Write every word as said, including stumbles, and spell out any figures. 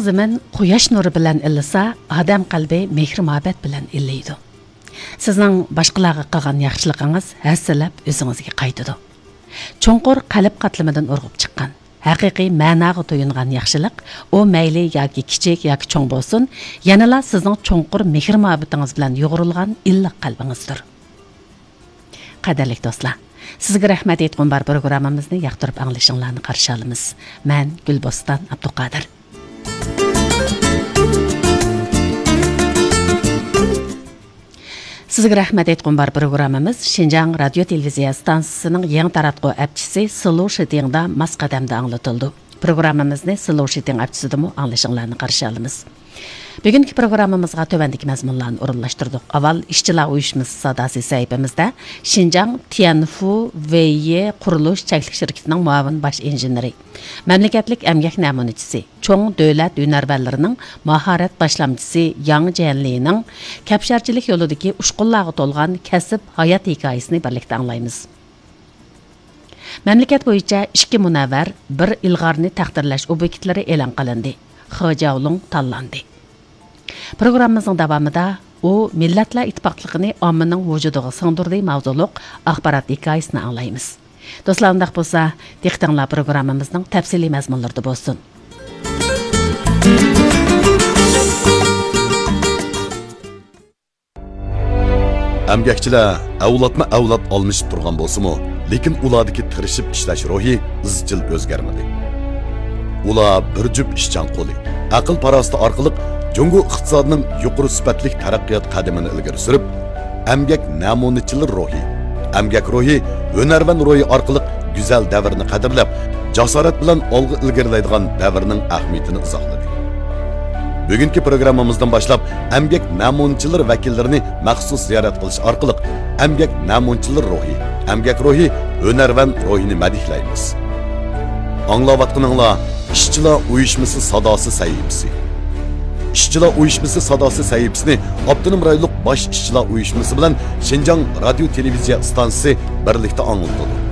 زېمىن قۇياش نۇرى بىلەن ئىللىسا، ئادەم قەلبى مېھرى-مۇھەببەت بىلەن ئىللىيدۇ. سىزنىڭ باشقىلارغا قىلغان ياخشىلىقىڭىز ھەسسىلەپ ئۆزىڭىزگە قايتىدۇ. چوڭقۇر قەلب قاتلىمىدىن ئۇرغۇپ چىققان، ھەقىقىي مەناغا تويۇنغان ياخشىلىق، ئۇ مەيلى ياكى كىچىك ياكى چوڭ بولسۇن، يەنىلا سىزنىڭ چوڭقۇر مېھىر-مۇھەببىتىڭىز بىلەن يۇغۇرۇلغان ئىللىق قەلبىڭىزدۇر. قەدىرلىك دوستلار، سىزگە رەھمەت ئېيتقۇم بار پروگراممىمىزنى ياقتۇرۇپ ئاڭلىشىڭلارنى قارشى ئالىمىز. مەن گۈلبوستان ئابدۇقادىر. سىزگە رەھمەت ئېيتقۇم بار پروگراممىمىز شىنجاڭ رادىيو تېلېۋىزىيە ئىستانسىسىنىڭ يېڭى تاراتقۇ ئەپچىسى سلو شىتىڭدا ماس قەدەمدە ئاڭلىتىلىدۇ. پروگراممىمىزنى سلو شىتىڭ ئەپچىسىدىمۇ ئاڭلىشىڭلارنى قارشى ئالىمىز. بۈگۈنكى پروگراممىمىزغا تۆۋەندىكى مەزمۇنلارنى ئورۇنلاشتۇردۇق. ئاۋۋال ئىشچىلار ئۇيۇشمىسى ساداسى سەھىپىمىزدە شىنجاڭ تيەنفۇ ۋېيى قۇرۇلۇش چەكلىك شىركىتىنىڭ مۇئاۋىن باش ئىنژېنېرى، مەملىكەتلىك ئەمگەك نەمۇنىچىسى، چوڭ دۆلەت ھۈنەرۋەنلىرىنىڭ ماھارەت باشلامچىسى ياڭ جيەنلىنىڭ كەپشارچىلىك يولىدىكى ئۇچقۇنلارغا تولغان كەسىپ ھايات ھېكايىسىنى بىرلىكتە ئاڭلايمىز. مەملىكەت بويىچە ئىككى مۇنەۋۋەر، بىر ئىلغارنى تەقدىرلەش ئوبيېكتلىرى ئېلان قىلىندى. خې جياۋلۇڭ تاللاندى. پروگراممىمىزنىڭ داۋامىدا ئۇ مىللەتلەر ئىتتىپاقلىقىنى ئاممىنىڭ ۋۇجۇدىغا سىڭدۈردى ماۋزۇلۇق ئاخبارات ھېكايىسىنى ئاڭلايمىز. دوستلار، ئۇنداق بولسا، دىققىتىڭلار پروگراممىمىزنىڭ تەپسىلىي مەزمۇنلىرىدا بولسۇن. ئەمگەكچىلەر ئەۋلادمۇ ئەۋلاد ئالمىشىپ تۇرغان بولسىمۇ، لېكىن ئۇلاردىكى تىرىشىپ ئىشلەش روھى ئىزچىل ئۆزگەرمىدى. ئۇلار بىر جۈپ ئىشچان قولى، ئەقىل-پاراسىتى ئارقىلىق جۇڭگو ئىقتىسادىنىڭ يۇقىرى سۈپەتلىك تەرەققىيات قەدىمىنى ئىلگىرى سۈرۈپ، ئەمگەك نەمۇنىچىلىرى روھى، ئەمگەك روھى، ھۈنەرۋەن روھى ئارقىلىق گۈزەل دەۋرنى قەدىرلەپ، جاسارەت بىلەن ئالغا ئىلگىرىلەيدىغان دەۋرنىڭ ئەھمىيىتىنى ئىزاھلىدى. بۈگۈنكى پروگراممىمىزدىن باشلاپ، ئەمگەك نەمۇنىچىلىرى ۋەكىللىرىنى مەخسۇس زىيارەت قىلىش ئارقىلىق، ئەمگەك نەمۇنىچىلىرى روھى، ئەمگەك روھى، ھۈنەرۋەن روھىنى مەدھىيەلەيمىز. ئاڭلاۋاتقىنىڭلار ئىشچىلار ئۇيۇشمىسى ساداسى سەھىپىسى. ئىشچىلار ئۇيۇشمىسى ساداسى سەھىپىسىنى ئاپتونوم رايونلۇق باش ئىشچىلار ئۇيۇشمىسى بىلەن شىنجاڭ رادىيو تېلېۋىزىيە ئىستانسىسى بىرلىكتە ئاڭلىتىدۇ.